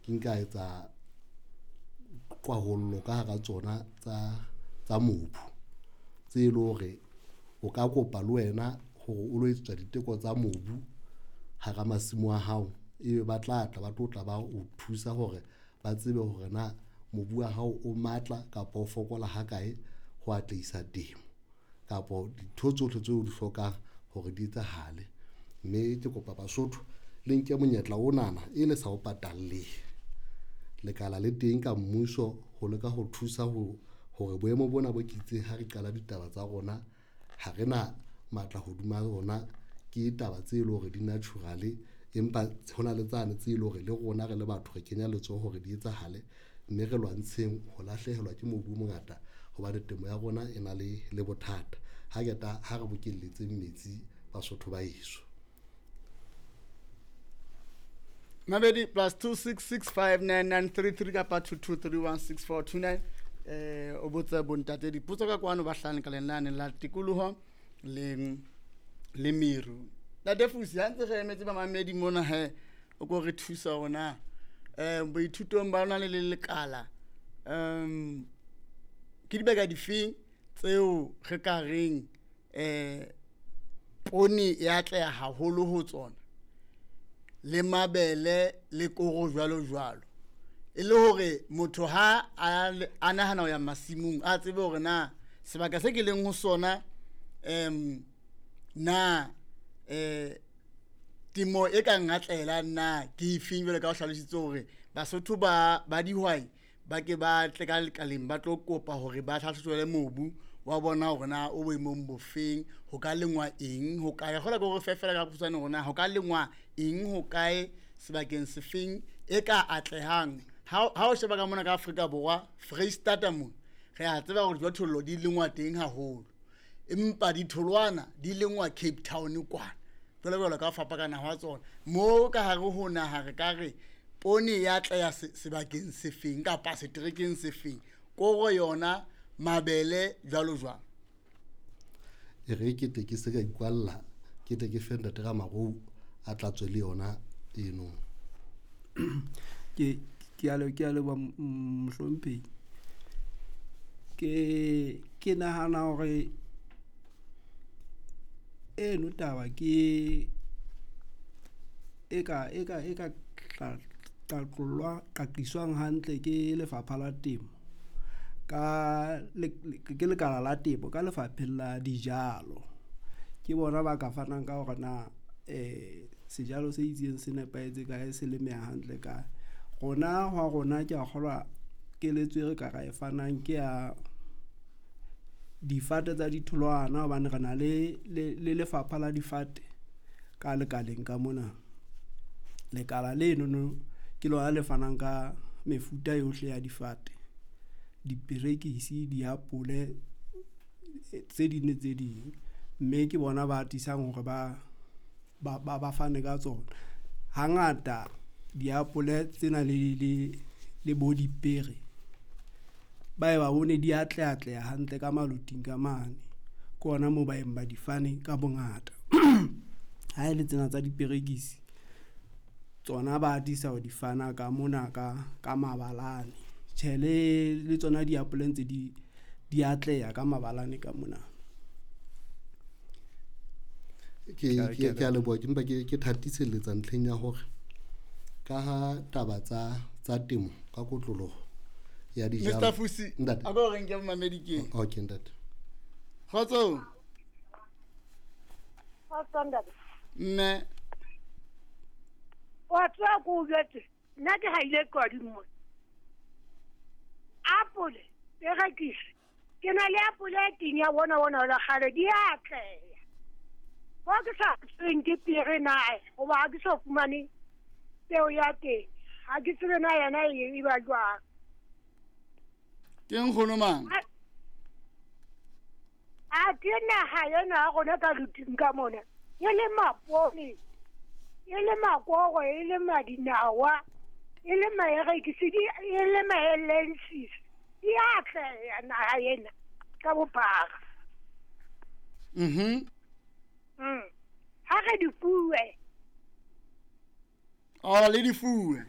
Ke nka etsa kwahollo ka hara tsona tsa mobu tse leng hore o ka kopa le wena hore o lo etsetswa diteko tsa mobu hara masimo a hao. Ebe ba tla tla ba tlo tla ba o thusa hore ba tsebe hore na mobu wa hao o matla kapa o fokola ha kae ho atlehisa temo kapa dintho tsohle tseo o di hlokang hore di etsahale. Mme ke kopa Basotho le nke monyetla onana e le sa o patalleng. Lekala le teng ka mmuso ho leka ho thusa ho hore boemo bona bo ke itseng ha re qala ditaba tsa rona, ha re na matla hodima rona. Ke taba tse leng hore di-natural, empa hona le tsane tse leng hore le rona re le batho re kenya letsoho hore di etsahale, mme re lwantsheng ho lahlehelwa ke mobu o mongata hobane temo ya rona e na le bothata. Ha qeta ha re bokelletseng metsi Basotho ba heso. Mabedi plus 266599933 kapa 22316429 o botse bontate dipotso ka kwano ba hlano ka lenane la tikoloho le meru. Ntate Fusi, ha ntse re emetse bamamedi mona he, o ko re thusa hore na boithutong ba lona le le lekala ke dibaka difeng tseo re ka reng poone e atleha haholo ho tsona, le mabele le koro jwalo jwalo, e le hore motho ha a nahana ho ya masimong a tsebe hore na sebaka se ke leng ho sona na temo e ka ngatlela na ke efeng, jwalo ka o hlalositse hore Basotho ba dihwai ba ke ba tle ka lekaleng ba tlo kopa hore ba hlahlojwe mobu wa bona hore na o boemong bofeng, ho ka lengwa eng ho kae. Kgola ke hore fe fela ka bokgutshwane hore na ho ka lengwa eng ho kae sebakeng sefeng e ka atlehang. Ha o sheba ka mona ka Afrika Borwa, Freistata mona re a tseba hore dijothollo di lengwa teng haholo, empa ditholwana di lengwa Cape Town kwana, jwalo jwalo ka ho fapana hwa tsona. Mo ka hare ho naha re ka re poone ya atleha sebakeng sefeng kapa seterekeng sefeng, koro yona, mabele jwalo jwalo. E re ke tle ke se ka ikwalla, ke tle ke fe ntate Ramarou a tla tswe le yona eno. Ke a leboha mohlomphehi. Ke nahana hore eno taba ke e ka qaqiswang hantle ke lefapha la temo ka ke lekala la temo ka lefapheng la dijalo. Ke bona ba ka fanang ka hore na sejalo se itseng se nepahetse kae, se lemeha hantle kae. Rona hwa rona ke a kgolwa keletso e re ka ra e fanang ke ya difate tsa ditholwana, hobane re na le lefapha la difate ka lekaleng ka mona. Lekala lenono ke lona le fanang ka mefuta yohle ya difate, diperekisi, diapole, tse ding le tse ding, mme ke bona ba atisang hore ba fane ka tsona. Hangata diapole tsena le bo dipere ba e ba bone di atleha hantle ka maloting ka mane, ke ona moo ba eng ba di fane ka bongata. Ha e le tsena tsa diperekisi tsona ba atisa ho di fana ka mona ka mabalane. Tjhe, le tsona diapole ntse di atleha ka mabalane ka mona. Ke a leboha, ke mpa ke thatiselletsa ntlheng ya hore ka ha taba tsa temo ka kotloloho ya dijalo. Mr. Fusi, Ntate. a ko re nke momamedi ke. Okay, ntate. Kgotso. Kgotso, ntate. Mme. Wa tseba ko o jwetse, nna ke haile qwadi mona. Apole, perekisi. Ke na le apole e teng ya bona bona la kgale, di atleha. Ho ke sa tsebeng ke pere na, hoba ha ke so fumane peo ya teng. Ha ke tsebe na yena e ba jwang. Ke nkgono mang? A ke naha ena ya rona ka luting ka mona. E le mapone, e le makoro, e le madinawa, e le maerekisi, e le maelensis. Di atleha naha ena ka bophara. Ha re di fuwe. Oh, le di fuwe.